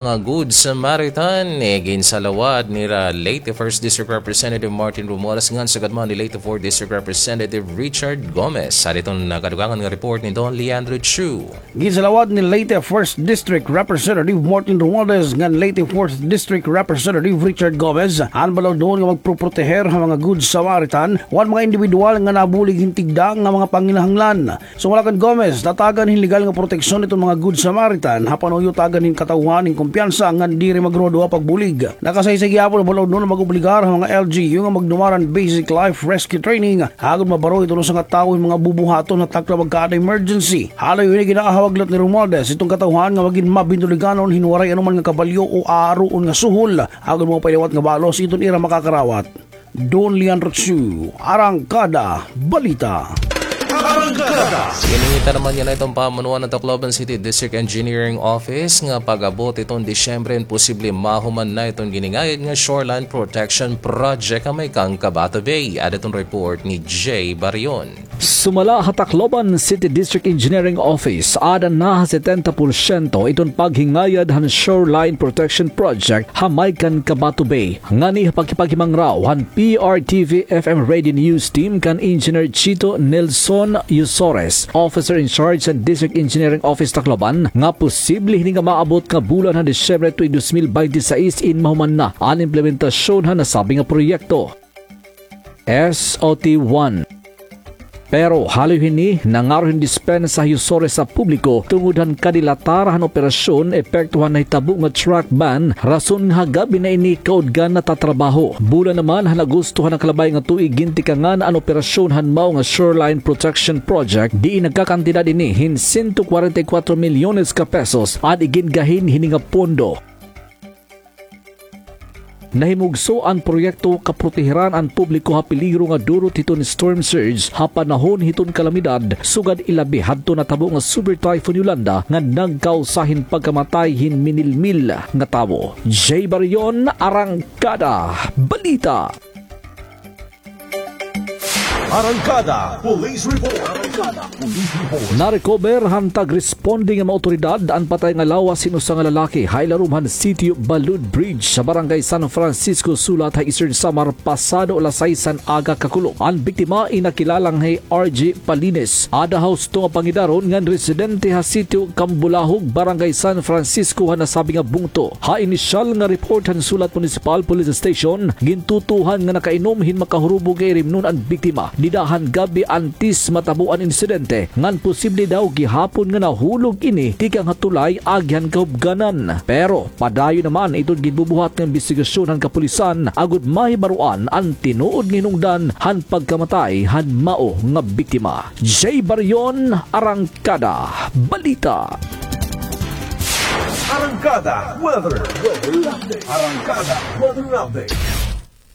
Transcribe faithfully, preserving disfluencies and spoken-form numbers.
mga Good Samaritan, eh, ginsalawad nira late First District Representative Martin Romualdez ngan sugad man ni late Fourth District Representative Richard Gomez. Sa diton nakadugangan nga report ni Don Leandro Chu. Ginsalawad ni late First District Representative Martin Romualdez ngan late Fourth District Representative Richard Gomez an balaudnon nga magproproteher ha mga Good Samaritan wan mga indibidwal nga nabulig hin tigda nga mga panginahanglan. Sumala kan Gomez, tatagan hin legal nga proteksyon iton mga Good Samaritan ha panuyutagan hin katawhan hin kumpiyansa ngan diri magruhaduha pagbulig. Nakasaysay gihapon an balaudnon nga mag-obligar ha mga L G U nga magdumara hin basic life rescue training agod mabaro iton usa nga tawo hin mga bubuhaton ha takna pagkaada emergency. Haloy hini, ginaahawag liwat ni Romualdez iton katawhan nga magin mabinuliganon hin waray anoman nga kabalyo o aaruon nga suhol agod maupay liwat nga balos iton ira makakarawat. Don Leandro Chu, Arangkada Balita. Arangkada. Giningita naman yana iton pamunuan han Tacloban City District Engineering Office nga pag-abot iton Disyembre hin posible mahuman na iton giningayad nga Shoreline Protection Project ha may kan Cabato Bay. Ada iton report ni Jay Barion. Sumala ha Tacloban City District Engineering Office, ada na ha setenta porsyento iton paghingayad han Shoreline Protection Project ha may kan Cabato Bay. Ngani ha pakikipaghimangraw han P R T V F M Radio News Team kan Engineer Chito Nelson Yusores, Officer in Charge han District Engineering Office Tacloban, nga posible hini nga maabot nga bulan han Disyembre tuig dos mil binte seis in mahuman na an implementasyon han nasabi nga proyekto. S O T one. Pero haloy hini, nangaro hin dispensa hi Yusores sa publiko tungod han kadilatar han operasyon epekto han nahitabo nga truck ban, rason nga ha gab-i na ini kaudgan natatrabaho. Bulan naman han Agosto han nakalabay nga tuig gintikangan an operasyon han mao nga Shoreline Protection Project, diin nagkakantidad ini hin sento kwarenta y kuwatro milyones ka pesos an igingahin hini nga pondo. Nahimugso an proyekto kaprotehiran an publiko ha peligro nga durot hiton storm surge ha panahon hiton kalamidad, sugad ilabi hadto natabo nga Super Typhoon Yolanda nga nagkausa hin pagkamatay hin minilmil nga tawo. Jay Barion, Arangkada Balita. Arangkada Police Report. Arangkada Police Report. Narecover han tag-responde nga mga awtoridad an patay nga lawas hin usa nga lalaki ha ilarom han sitio Balud Bridge sa Barangay San Francisco, Sulat ha Eastern Samar, pasado alas sais han aga kakulop. An biktima in nakilala nga hi R J Palines. Ada ha husto nga pangidaron ngan residente ha sitio Cambulahog, Barangay San Francisco han nasabi nga bungto. Ha inisyal nga report han Sulat Municipal Police Station, gintutuohan nga nakainom hin makahurubog nga irimnon an biktima dida han gab-i antes matabo an insidente, ngan posible daw gihapon nga nahulog ini tikang ha tulay agi han kahubganan. Pero padayon naman iton ginbubuhat nga imbestigasyon han kapulisan agod mahibaroan an tinuod nga hinungdan han pagkamatay han mao nga biktima. Jay Barion, Arangkada Balita. Arangkada Weather. Arangkada Weather Update.